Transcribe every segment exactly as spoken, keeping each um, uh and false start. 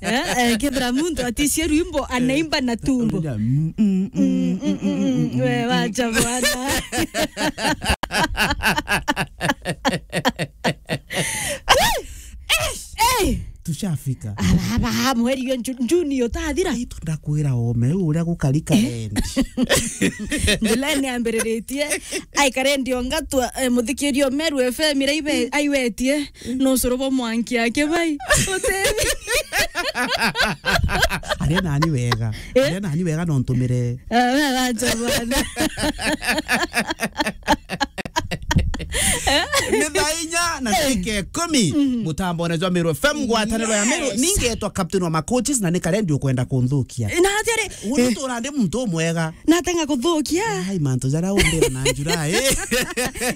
Eh, eh, kethira muntu aticie rwimbo, anaimba na tumbo. Mm, mm, mm, mm, mm, mm, mm, mm. We wacha bwana. Hey! Tushafika. Aba, aba, mweri yo Ju-, Juni utathira. Ai, ndakwira ome, riu uria gukari Karendi. July ni ambiriritie. Ai, Karendi ongatwa, eh, muthikirio Meru F M ira ibe-, aiwetie. No sorobo mwanki yake bai. Utebi. Aria nani wega. Eh? Aria nani wega no ntumire. Ah, we wacha bwana. Ni thaa inya na ndagika ikumi. Mhm. Mutambone jwa Meru F M, ngwataniro ya Meru. Yes. Ningetwa captain wa macoaches na ni Karendi ukwenda kunthukia. Na atiri, uni tura ndi muntu umwega. Natenga kuthukia. Ai, mantu jaria umbira na njura, eh.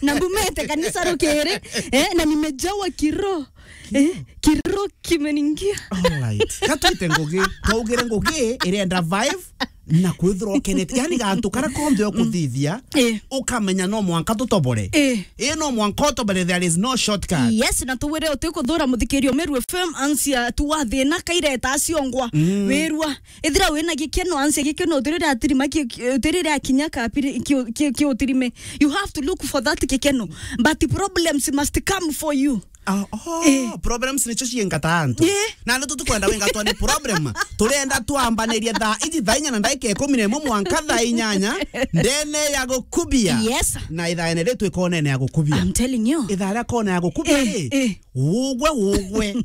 Na mbumete kanisa rukiri, eh, na nimejawa kiroho. Eh, kiroho kimeningia. All right. Gatwite ngugi, twaugire ngugi irenda vibe na kwithirwa ukenete. Yani gantu kara konthe ukuthithia, eh, ukamenya no mwanka tutobore. Eh. Eh, no mwanka utobore, there is no shortcut. Yes, na tuwire utikuthura muthikirio Meru F M ansia tu wa thina kaireta aciongwa. Mm. Wirua. Ethira wina gikeno, ansia gikeno, utirire atirima ki-, ki-, utirire akinya kapiri, ki-, ki-, ki-, utirime. You have to look for that gikeno. But problems must come for you. Ah, oh, eh. Problems nicio ciengata antu. Eh. Na ni tu tukwenda wengatwa ni problem. Turenda twambanirie thaa iji thaa inya na ndagika ikumi na imwe mwanka thaa inyanya ndene ya gukubia. Yes. Na ithaene ritu ikonene ya gukubia. I'm telling you. Ithaa ria kona ya gukubia, eh, ri, eh. Ugwe, ugwe.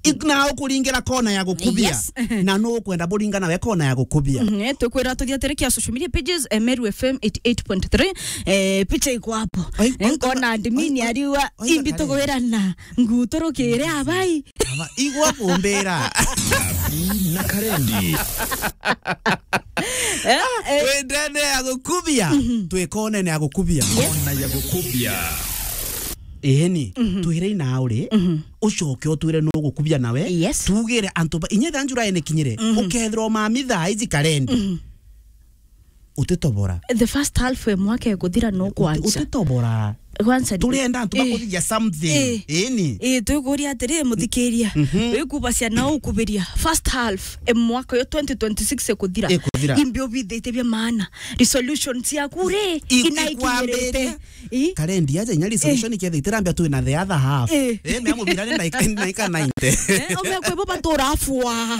Ik-, na ukuringira kona ya gukubia. Yes. Na no ukwenda buringa nawe kona ya gukubia. Mhm, eh, tukwira tuthia tere kia social media pages, eh, Meru F M eighty eight point three, eh, picha iko hapo. Ai, eh, ai, kona ai, admin ai, ai, ariwa, ai, imbi ai, tugwira na nguturukire abai. Aba, igwa kumbira. Na Karendi. Eh, eh. Wi ndene ya gukubia. Mhm. Twi konene ya gukubia. Yes. Kona ya gukubia. Eni, mhm, twire ina uri, mhm, ucoke utwire nu gukubia nawe. Yes. Tugire antu ba, inya thaa njura ene kinyire, mhm, ukethirwa mami thaa iji Karendi. Mhm. Utitobora. The first half ya mwaka ikuthira no kwanza. Utitobora. Kwanza ni turenda antu, eh, bakuthithia something. Eh. Eni. Eh, tukuria atiri, muthikiria. Mhm. Wikubacia na ukubiria. First half ya mwaka yo twenty twenty-six ikuthira. Ikuthira. Imbi ubithitie bia maana. Resolutions ciaku ri, i-, ina ikwambiriria ikinyirite. I? Karendi aja inya resolution, eh, ketha itirambia twina the other half. Eh. Eh, mea mubira ni naika, naika ninety. Eh, ome kwe bo batura fua.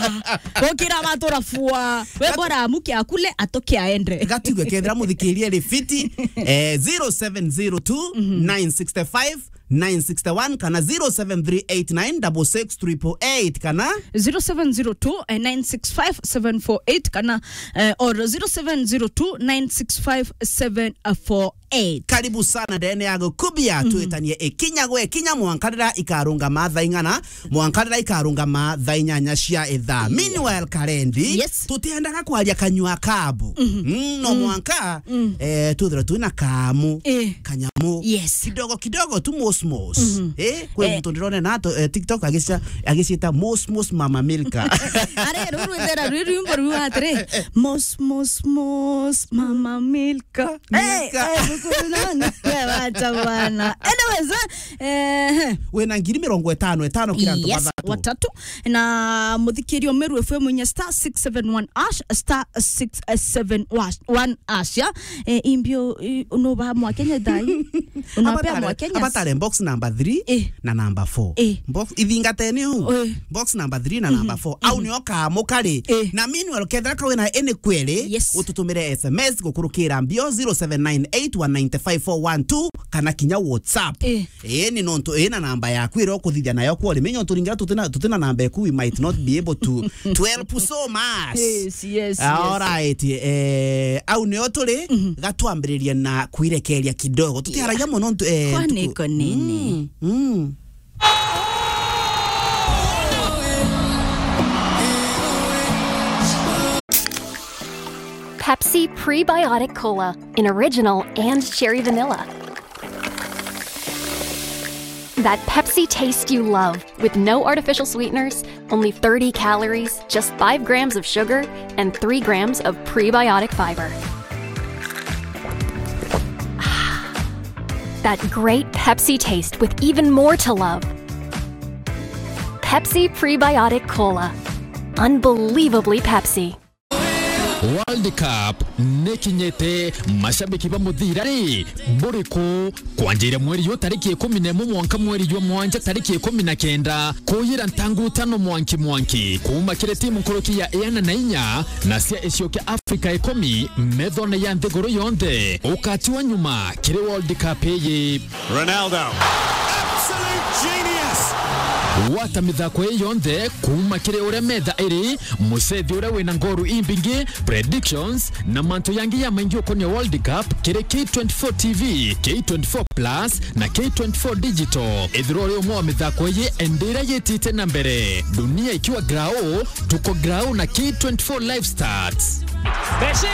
Bokira batura fua. We bora amuke akule, atoke aende. Gatigwe kethira muthikirie ri fiti, eh, zero seven zero two, nine six five, nine six one kana zero seven three eight nine double six triple eight kana zero seven zero two, eh, nine six five, seven four eight kana, eh, or zero seven zero two, nine six five, seven four eight. Karibu sana ndene ya gukubia, mm, twitanie ikinya gwe kinya mwanka riria ikarungama thaa ing'ana, mwanka riria ikarungama thaa inyanya cia ithaa. Yeah. Meanwhile, Karendi, yes, tutiendaga kwaria kanyua kabu. Mhm. Mm, no, mm, mwanka, mm, eh, twithirwe twina kamu, eh, kanyamu. Yes. Kidogo kidogo tu mos mos. Mhm. Eh, kwi, eh, muntu ndirone na to, eh, TikTok agicia-, agiciita mos mos Mama Milka. Are, ruru rwithera rwi rwimbo rwi atiri, mos mos mos Mama Milka. Ka-, Milka. Eh, eh, mukuru nani? We wacha bwana. Anyways, eh, eh. Wina ngiri mirongo itano itano kira antu, yes, bathatu. Watatu. Na muthikirio Meru F M inya star six seven one hash, star six seven one hash, ya. Eh, imbio, i-, unoba mwa Kenya thai. Unapea mwa Kenya. Abatare box number three, eh, na number four. Eh. Box, ithingateni u. Eh. Box number three na number four. Au, mhm, nio kamu kari. Eh. Na meanwhile, kethira ka wina any query, yes, ututumire S M S gukurukira mbio zero seven nine eight one nine five four one two kana kinya WhatsApp. Eh. Ii, ni nontu ii na namba yaku iria ukuthithia nayo kwori. Menya nontu ringira tutina, tutina namba eku, we might not be able to, to help so much. Yes, yes, yes. All right. Eh, au nio turi, mhm, gatwambiririe na kwirekeria kidogo. Tutiaragia, yeah, mono ntu-, eh, kwani tuku-, iko nini? Mm, mm. Pepsi Prebiotic Cola, an original and cherry vanilla. That Pepsi taste you love, with no artificial sweeteners, only thirty calories, just five grams of sugar, and three grams of prebiotic fiber. That great Pepsi taste with even more to love. Pepsi Prebiotic Cola. Unbelievably Pepsi. World Cup nikinyite, mashabiki ba muthira ri buriku? Kwanjira mweri yu tariki ikumi na imwe mwanka mweri jwa mwanja tariki ikumi na kenda, kuyira ntangu tano mwanki mwanki, kuuma kiri timu nkuruki ya iana na inya na cia icio kia Afrika ikumi methone ya nthiguru yonthe, ukatiwa nyuma kiri World Cup iyi. Ronaldo. Absolute genius. Gwata mithako ii yonthe kuuma kiri uria metha iri, mucethi uria wina ngoru imbingi, predictions, na mantu yangi ya maingi ukonia World Cup kiri K twenty-four T V, K twenty-four Plus, na K twenty-four Digital. Ithirwa uri umwe wa mithako ii, endira yitite na mbere. Dunia ikiwa grau, tuko grau na K twenty-four Live Stats. Messi!